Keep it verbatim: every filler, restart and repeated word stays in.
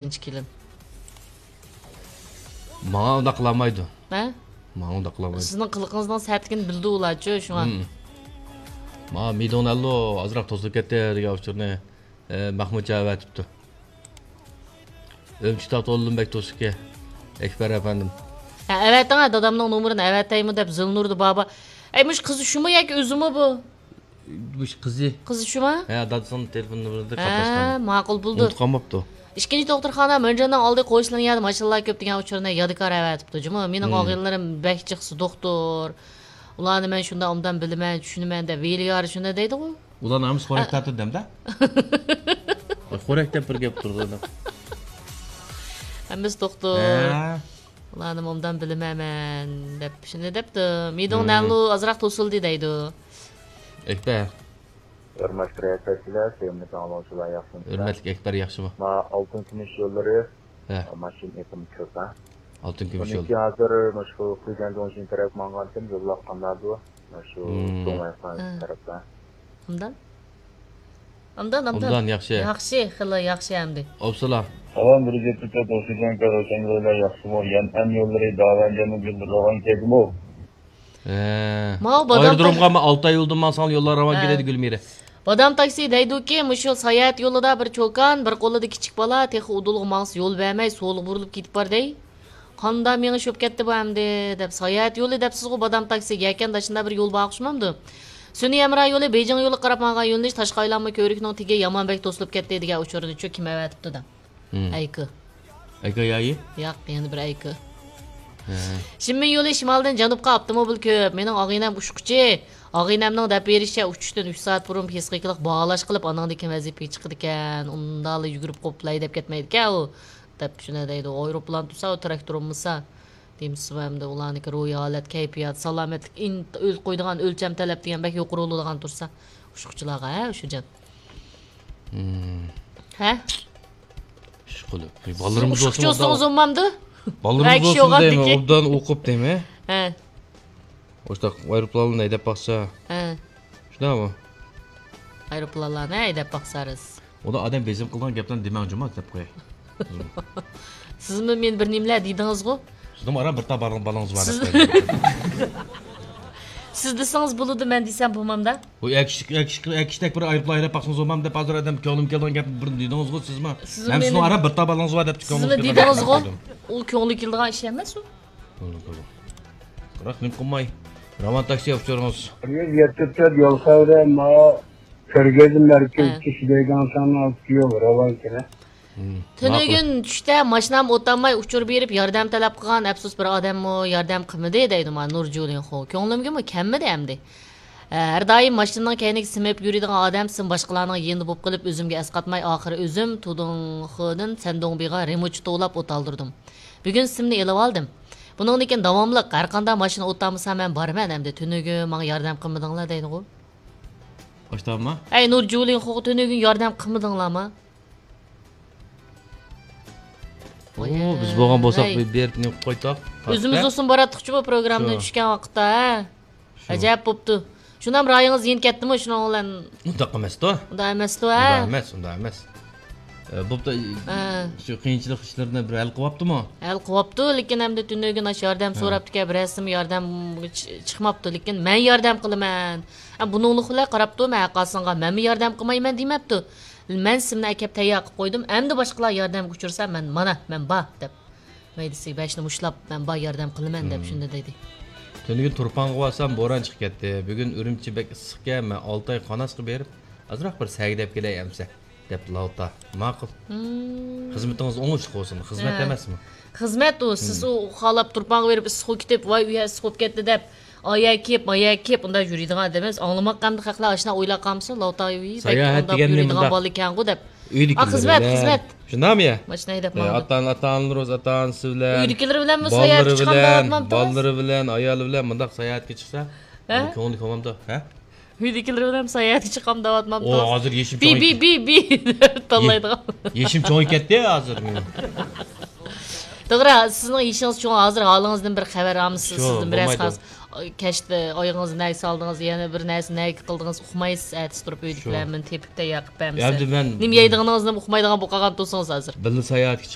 بىرىنچى كېلىن. ماڭا ئۇنداق قىلالمايدۇ. ھە؟ ماڭا ئۇنداق قىلالمايدۇ. سىزنىڭ قىلىقىڭىزنىڭ سەتلىكىنى بىلىدۇ ئۇلارچۇ، شۇڭا. مم. ماڭا مىدوڭ نەللۇ ئازراق توسۇلۇپ كەتتى دېگەن ئۇچۇرنى، ئە، مەخمۇتجان ئەۋەتىپتۇ. ئۈرۈمچى تاغ تولىدىن بەك توسۇكى، ئەكبەر ئەپەندىم. ھە، ئەۋەتىڭ، ھە، دادامنىڭ نومۇرىنى ئەۋەتەيمۇ دەپ زىلنۇردا بابا. ئەي، مۇشۇ قىزى شۇمۇ ياكى ئۆزىمۇ بۇ؟ مۇشۇ قىزى. قىزى شۇمۇ؟ ھە، دادىسىنىڭ تېلېفون نومۇرىدا ھە، قاتناشقان. ماقۇل بولدى. ئۇنتۇپ قالماپتۇ. ئىككىنچى دوختۇرخانا مۆنجەننىڭ ئالدى قويۇشلىرىنىڭ يەردە ماشىنىلار كۆپ دېگەن ئۇچۇرنى يادىكار ئەۋەتىپتۇ جۇمۇ. مېنىڭ مم. ئاغىنىلىرىم بەك جىقسى دوختۇر. ئۇلارنى مەن شۇنداق ئوبدان بىلىمەن، چۈشىنىمەن دەپ ۋېلىگارى شۇنداق دەيدىغۇ. ئۇلارنىڭ ھەممىسى خورەك ھە. تارتىدۇ دەمدە. خورەك دەپ بىر گەپ تۇرىدۇ. ھەممىسى دوختۇر. ھە. ئۇلارنى ئوبدان بىلىمەن مەن دەپ شۇنداق دەپتۇ. مىدوڭ مم. نەللۇ ئازراق توسۇلدى دەيدۇ. ئەكبەر. ھۆرمەتلىك رىياسەتچىلەر، سۆيۈملۈك ئاڭلىغۇچىلار، ياخشىمۇ؟ ھۆرمەتلىك ئەكبەر، ياخشىمۇ؟ ما ئالتۇن كۈمۈش يوللىرى، ھە. ماشىنا ئېقىمى كۆپ، ھە؟ ئالتۇن كۈمۈش يول. بۇنىڭكى ھازىر مۇشۇ خۇيجەن دۇڭشىن تەرەپ ماڭغانتىم، يوللار قانداقدۇ؟ مۇشۇ مم. دۇڭ ئايقان ھە. تەرەپتە. ئاندىن؟ ئاندىن، ئاندىن. ئوبدان ياخشى. ياخشى، خېلى ياخشى ئەمدى. ئوبسىلا. سالام، بىر گەپتە توسۇلغان كارۋانسارىلار ياخشىمۇ؟ يەنئەن يوللىرى داۋەنجەننىڭ يوللىرى راۋان كەلدىمۇ؟ ھە. ماۋۇ بادام ئايرودرومغا تا-، مەن ئالتە ئاي يولدىن ماڭساڭ يوللار راۋان ھە. كېلەيدۇ، گۈلمىرە. بادام تاكسى دەيدۇكى، مۇشۇ ساياھەت يولىدا بىر چوكان، بىر قولىدا كىچىك بالا، تېخى ئۇدۇلغا ماڭسا يول بەرمەي، سولغا بۇرۇلۇپ كېتىپ بار دەي. قاندا مېڭىش بولۇپ كەتتى بۇ ئەمدى، دەپ ساياھەت يولى دەپسىزغۇ، بادام تاكسىگە يەكەندە شۇنداق بىر يول بار ئوخشىمامدۇ؟ سۈنئىي ھەمراھ يولى بېيجىڭ يولىغا قاراپ ماڭغان يۆنىلىش تاشقى ئايلانما كۆۋرۈكنىڭ تېگى يامان بەك توسۇلۇپ كەتتى دېگەن ئۇچۇرنىچۇ كىم ئەۋەتىپتۇ دەڭ؟ ھىم. ئەيكى. ئەيكى يايى؟ ياق، يەنە بىر ئەيكى. ھە. شىنمىن يولى شىمالدىن جەنۇبقا ئاپتوموبىل كۆپ. مېنىڭ ئاغىنەم ئۇچقۇچى. ئاغىنەمنىڭ دەپ بېرىشىچە، ئۇچۇشتىن ئۈچ سائەت بۇرۇن پسىخىكىلىق باھالاش قىلىپ، ئانىڭدىن كېيىن ۋەزىپىگە چىقىدىكەن. ئۇنداقلا يۈگۈرۈپ قوپلا ھەيدەپ كەتمەيدىكەن ئۇ. دەپ شۇنداق دەيدۇ. ئايروپىلان تۇرسا، ئۇ تىراكتور بولمىسا. دېمىسىمۇ ئەمدى ئۇلارنىكى روھىي ھالەت، كەيپىيات، سالامەتلىك، ئىن-، ئۆل قويىدىغان ئۆلچەم تەلەپ دېگەن بەك يۇقىرى بولىدىغان تۇرسا، ئۇچقۇچىلارغا، ھە، ئۇشۇجان؟ ھىم. ھە؟ ئىشقىلىپ. سىز بالىلىرىمىز ئۇشقۇچى بولسىمۇ بولسىڭىز ئوبدان، بولمامدۇ؟ بالىلىرىمىز بولسىمۇ دەيمەن، ئوبدان ئوقۇپ دەيمەن. ھە. ئوشۇنداق ئايروپىلانلارنى ھەيدەپ باقسا. ھە. شۇنداقمۇ؟ ئايروپىلانلارنى ھەيدەپ باقسارىز. ئۇدا ئادەم بېزىم قىلىدىغان گەپلەرنى دېمەڭ جۇما، دەپ قوياي. سىزمۇ مېنى بىر نېمىلەر دېدىڭىزغۇ؟ سىزنىڭ ئارا بىر تال بالىڭىز بار سىز دەپ قوياي. سىز دېسىڭىز بولىدۇ، مەن دېسەم بولمامدا. بۇ ئەكىشتەك، ئەكىشتەك، ئەكىشتەك بىر ئايروپىلان ھەيدەپ باقسىڭىز بولمام دەپ ھازىر ئادەم كۆڭلۈم كەلگەن گەپنى بىر دېدىڭىزغۇ سىزمۇ. سىزمۇ مەن سىزنىڭ مېنى، ئارا بىر تال بالىڭىز بار دەپ سىزمۇ كۆڭلۈم كەلگەن دېدىڭىزغۇ. گەپنى دېدىم. ئۇ كۆڭلى كېلىدىغان ئىش ئەمەس ئۇ. بىراق نېمە قىلماي، راۋان تاكسى ئۇچۇرىڭىز. يۈز يەتتە تۆت يول خەۋىرى، ما كۆرگەزمە مەركىزى ھە. چىشى دەيدىغان ساننىڭ ئالدىدىكى يول راۋان كېلە. مم، تۈنۈگۈن ماقۇل. چۈشتە ماشىنام ئولتۇرماي ئۇچۇر بېرىپ ياردەم تەلەپ قىلغان، ئەپسۇس بىر ئادەممۇ ياردەم قىلمىدى دەيدۇ مانا نۇرجۇلىنخۇ. كۆڭلۈمگىمۇ كەلمىدى ئەمدى. ھە، ھەر دائىم ماشىنىنىڭ كەينىگە سىمىپ يۈرىدىغان ئادەم سىم باشقىلارنىڭ يېنىدا بولۇپ قېلىپ، ئۆزۈمگە ئەسقاتماي، ئاخىرى ئۆزۈم تۇدۇڭخېدىن سەندۇڭبىغا رېمونتچى توۋلاپ ئولتۇردۇم. بۈگۈن سىمنى ئېلىۋالدىم. بۇنىڭدىن كېيىن داۋاملىق ھەرقانداق ماشىنا ئولتۇرمىسا مەن بارىمەن ئەمدى. تۈنۈگۈن ماڭا ياردەم قىلمىدىڭلار دەيدىغۇ. باشتامما؟ ئەي نۇرجۇلىنخۇغا تۈنۈگۈن ياردەم قىلمىدىڭلارما؟ ئوي، بىز بولغان بولساق ھەي. بېرىپ نېمە قىلىپ قويتاق؟ ئۆزىمىز بولسۇن باراتتۇقچۇ بۇ پروگراممىدىن شۇ. چۈشكەن ۋاقىتتا، ھە؟ شۇ. ئەجەب بوپتۇ. شۇنام رايىڭىز يېنىپ كەتتىمۇ شۇنىڭ بىلەن؟ ئۇنداق ئەمەستۇ. ئۇنداق ئەمەستۇ، ھە؟ ئۇنداق ئەمەس، ئۇنداق ئەمەس. ئە، بوپتۇ، ھە. شۇ قىيىنچىلىق ئىشلىرىنى بىر ھەل قىلىۋاپتىمۇ؟ ھەل قىلىۋاپتۇ، لېكىن ئەمدى تۈنۈگۈن ئاشۇ ياردەم ھە. سوراپتىكەن، بىرەرسىمۇ ياردەم چىقماپتۇ، لېكىن مەن ياردەم قىلىمەن. ھە، بۇنىڭلىق بىلەن قاراپتۇ، مەن ھەرقايسىڭغا مەنمۇ ياردەم قىلمايمەن دېمەپتۇ. مەن سىمنى ئەكەپ تەييار قىلىپ قويدۇم. ئەمدى باشقىلار ياردەمگە ئۇچرىسا، مەن مانا، مەن بار دەپ. مەيدىسىگە بېشىنى مۇشتلاپ، مەن بار ياردەم قىلىمەن دەپ شۇنداق دېدى. تۈنۈگۈن تۇرپانغا بارسام، بوران چىقىپ كەتتى. بۈگۈن ئۈرۈمچى بەك ئىسسىقكەن، مەن ئالتاي قاناسقا بېرىپ، ئازراق بىر سەگىدەپ كېلەي ئەمسە، دەپتۇ لاۋتا. ماقۇل. خىزمىتىڭىز ئوڭۇشلۇق بولسۇن. خىزمەت ھە. ئەمەسمۇ؟ خىزمەت ئۇ. سىز ئۇ خالاپ تۇرپانغا بېرىپ ئىسسىققا كېتىپ، ۋاي، ئۇ يەر ئىسسىق بولۇپ كەتتى دەپ، ئايا كېپ، مايا كېپ، ئۇنداق يۈرىدىغان ئادەم ئەمەس. ئاڭلىماققا ئەمدى خەقلەر ئاشۇنداق ئويلاپ قالمىسۇن، لاۋتا، ۋىي، بەك ساياھەت ئۇنداق دېگەن يۈرىدىغان نېمە بالا ئىكەنغۇ دەپ. ئا، ئۆيدىكىلەر خىزمەت، بىلەن. خىزمەت. شۇنداقمۇ يا؟ ماشىنا ھەيدەپ ئە، ماڭىدۇ. ئاتا-، ئاتا-ئانىلىرىڭىز، ئاتا-ئانىسى بىلەن، ئۆيدىكىلىرى بىلەنمۇ ساياھەتكە چىقامدۇ دەۋاتمامتىڭىز؟ بالىلىرى بىلەن، ئايالى بىلەن مۇنداق ساياھەتكە چىقسا، ھە؟ كۆڭلى كۆڭلۈمدۇ، ھە؟ ئۆيدىكىلىرى بىلەن ساياھەتكە چىقامدۇ دەۋاتمامتىڭىز؟ ئۇ ھازىر يېشىم بى، چوڭ-، بى، بى، بى دەپ تاللايدىغان. يېشىم چوڭىيىپ كەتتى ھازىر مېنىڭ. توغرا، سىزنىڭ يېشىڭىز چوڭ، ھازىر ھالىڭىزدىن بىر خەۋەر ئالىمىز، شۇ، سىزدىن بىرەرسى بولمايدۇ. قارىسا. كەچتە ئايىغىڭىزنى نەگە سالدىڭىز، يەنە بىر نەرسە نەگە قىلدىڭىز، ئۇقمايسىز، ئەتىسى تۇرۇپ ئۆيدىكىلەر شۇ. مېنى تېپىپ تەييار قىلىپ بەرمىسە. ئەمدى مەن نېمە يەيدىغىنىڭىزنى ئۇقمايدىغان بولۇپ قالغان تۇرسىڭىز ھازىر. بىللە ساياھەتكە